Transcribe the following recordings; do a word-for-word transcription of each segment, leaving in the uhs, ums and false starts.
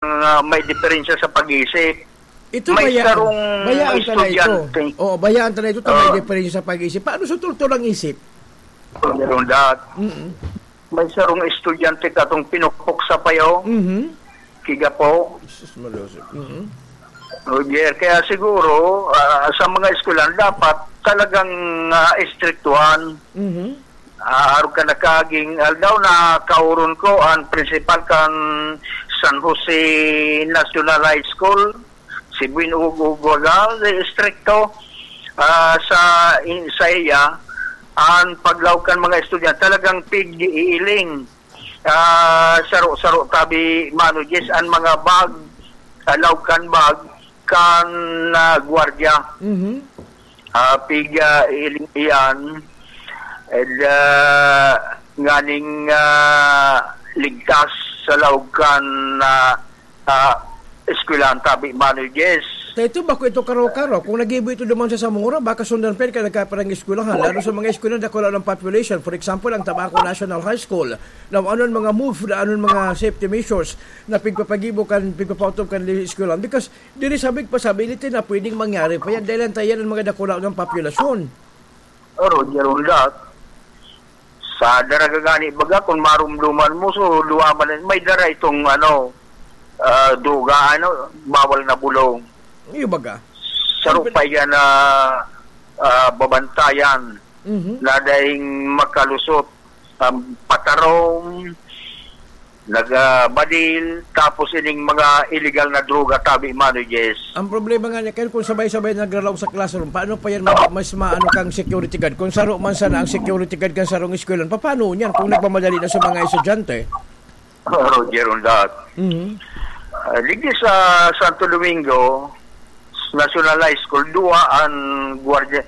ah, may diferensya sa pag-iisip. Ito May bayaan. sarong Bayaan ka na ito. estudyante. Oo, bayaan ka na ito, ta may Oo. diferensya sa pag-iisip. Paano sa turturang isip? Meron dat. Mm-mm. May sarong estudyante katong pinukpok sa payo. Mhm. Kiga po. Jesus, malusog. Mhm. Roger, kaya siguro, ah, sa mga eskwelahan, dapat talagang, ah, estriktuhan. Mhm. Ah, arog kan nakaaging aldaw, nakauron ko an principal kan San Jose National High School, si Buin Ugog Wagal, estrikto, ah, sa, in, sa iya, an paglaog kan mga estudyante, talagang pig-iiling. Ah, saro-saro tabi, Mano Jess, an mga bag, ah, laog kan bag, kan, ah, gwardiya. Mhm. Ah, piga iling iyan, ed, ah, nganing, ah, ligtas sa laog kan, ah, ah, eskwelahan tabi, Mano Jess. Ta ito, bako ito karo-karo. Kung nagibo ito duman sa Zamora, baka sundan pa yan kan nagkaparang eskwelahan. Lalo sa mga eskwelahan, dakula ng population. For example, ang Tabaco National High School. Now, anon mga move, anon mga safety measures na pigpapagibo kan, pigpapaotob kan eskwelahan? Because diri sabi pa sabi, iti na pwedeng mangyari pa yan. Dahil ang tayan ng mga dakula ng populasyon. Oh, Roger, on that. Sa daraga gani, baga, kung marumduman mo, so, duwa man, may dara itong, ano, ah, duga, ano, bawal na bulong. Iyo baga. Sarong Ang pin- pa yan na, ah, babantayan Mhm. na daing makalusot, um, patarom, nagbadil, tapos ining mga illegal na droga, tabi, Mano Jess. Ang problema nga niya, kaya kung sabay-sabay nagralaog sa classroom, paano pa yan ma-, mas maano kang security guard? Kung saro man sana ang security guard kan sarong eskwelahan, paano yan kung nagmamadali na sa mga estudyante? Roger, on that. Mhm. Ah, digdi sa Santo Domingo, National High School, duwa an gwardiya,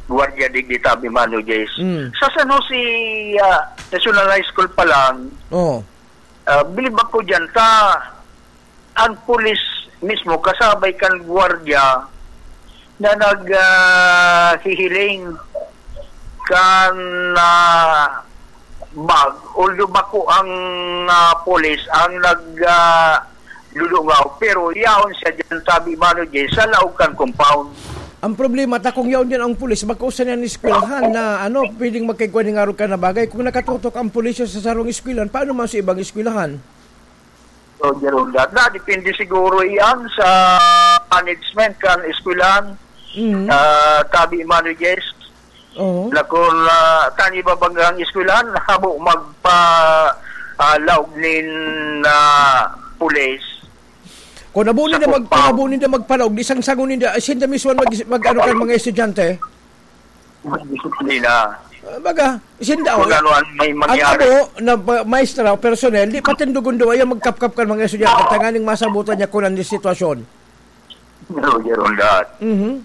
gwardiya digdi, tabi, Mano Jess. Mm. Sa San Jose, ah, National High School pa lang, Oo. ah, bilib ako dyan, ta, ang pulis mismo, kasabay kan gwardiya na nag, ah, hihiling kan, ah, bag, although bako ang, ah, pulis ang nag, ah, dudungaw, pero yaon siya dyan, tabi, Mano Jay, sa laog kan compound. Ang problema, ta kung yaon dyan ang pulis, bako sa niyan eskwelahan na, ano, pwedeng magkaigwa ning arog ka na bagay. Kung nakatutok ang pulis sa sarong eskwelahan, paano man sa ibang eskwelahan? So, Jerome, da, da, depende siguro iyan sa management kan eskwelahan. Mhm. Ah, tabi, Mano Jess, Oo. na kung, ah, tani ba banggang eskwelahan, habo magpa, ah, laog nin, ah, pulis. Kung abo Sa ninda mag-, kung compound. abo ninda magpalaog, di sangsangon ninda, ay, sinda mismo mag-, mag-, ano kan mga estudyante? Magdisiplina. Ah, baga, sinda, Kung oh, ano ang may ang mangyari. abo na ba-, maestra o personnel, di patindugon daw, ayaw magkapkap kan mga estudyante, tanganing masabutan niya kung ano yung sitwasyon. Roger, on that. Mhm.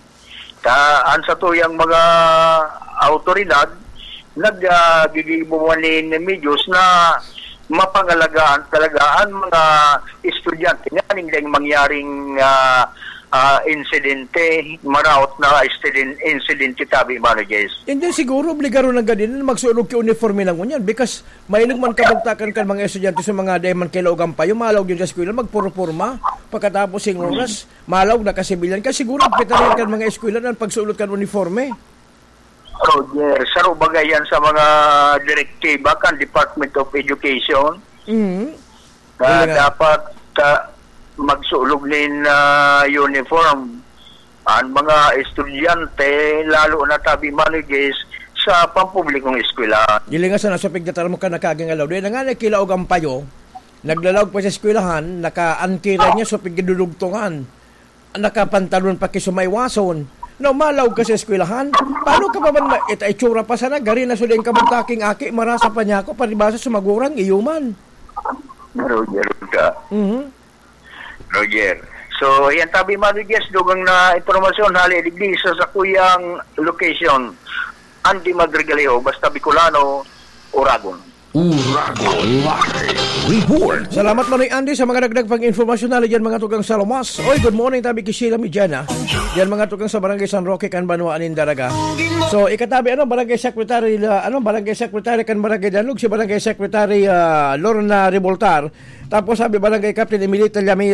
Ta, ang sa tuyang mga awtoridad, nag, ah, gigibo man nin medyos na mapangalagaan talaga ang mga estudyante. Nganing dahil mangyaring, ah, ah, insidente, maraot na insidente, tabi, Mano Jess. Hindi siguro, obligado na gani na magsulog ki uniforme na ngunyan. Because, mahinog man kabugtakan kan mga estudyante sa mga dahil man kailaog ang payo, malaog yun sa eskwela, magpurporma. Pagkatapos yung oras, malaog na kasibilyan. Kaya siguro, pitalian kan mga eskwela na pagsulot kan uniforme. Roger, saro baga yan sa mga direktiba kan Department of Education Mhm. na Yun nga. dapat, ah, magsulog nin, ah, uniform ang mga estudyante, lalo na tabi, Mano Jess, sa pampublikong eskwela. Dili nga sana sa pigdatar mo ka nakagingalaw. Dahil na nga nakilaog ang payo, naglalaog pa sa eskwelahan, naka-antiran niya sa pigdudugtungan. Nakapantalon pa ki sumaywason. Na umalaog ka sa eskwelahan, paano ka pa man ma-, ita-, itsura pa sana, gari na suling kabugtaking aki, marasa pa niya ako, palibasa sumagurang iyo man. Roger ka. Mhm. Roger. So, yan tabi, Mano Jess, dugang na impormasyon, hali digdi sa sakuyang location. Andy Madrigalejo, basta Bicolano, Oragon. Uragon Live Report. Salamat, Manoy Andy, sa mga dagdag pang informasyon na diyan, mga tukang sa Lomas. Oy, good morning, tabi ki Sheila Mijana. Diyan, mga tukang sa Barangay San Roque, kan Banwa nin Daraga. So, ikatabi, ano, Barangay Secretary, ah, ano, Barangay Secretary kan Barangay Danlog, si Barangay Secretary, ah, Lorna Revoltar. Tapos, sabi, Barangay Captain Emilita Llame-,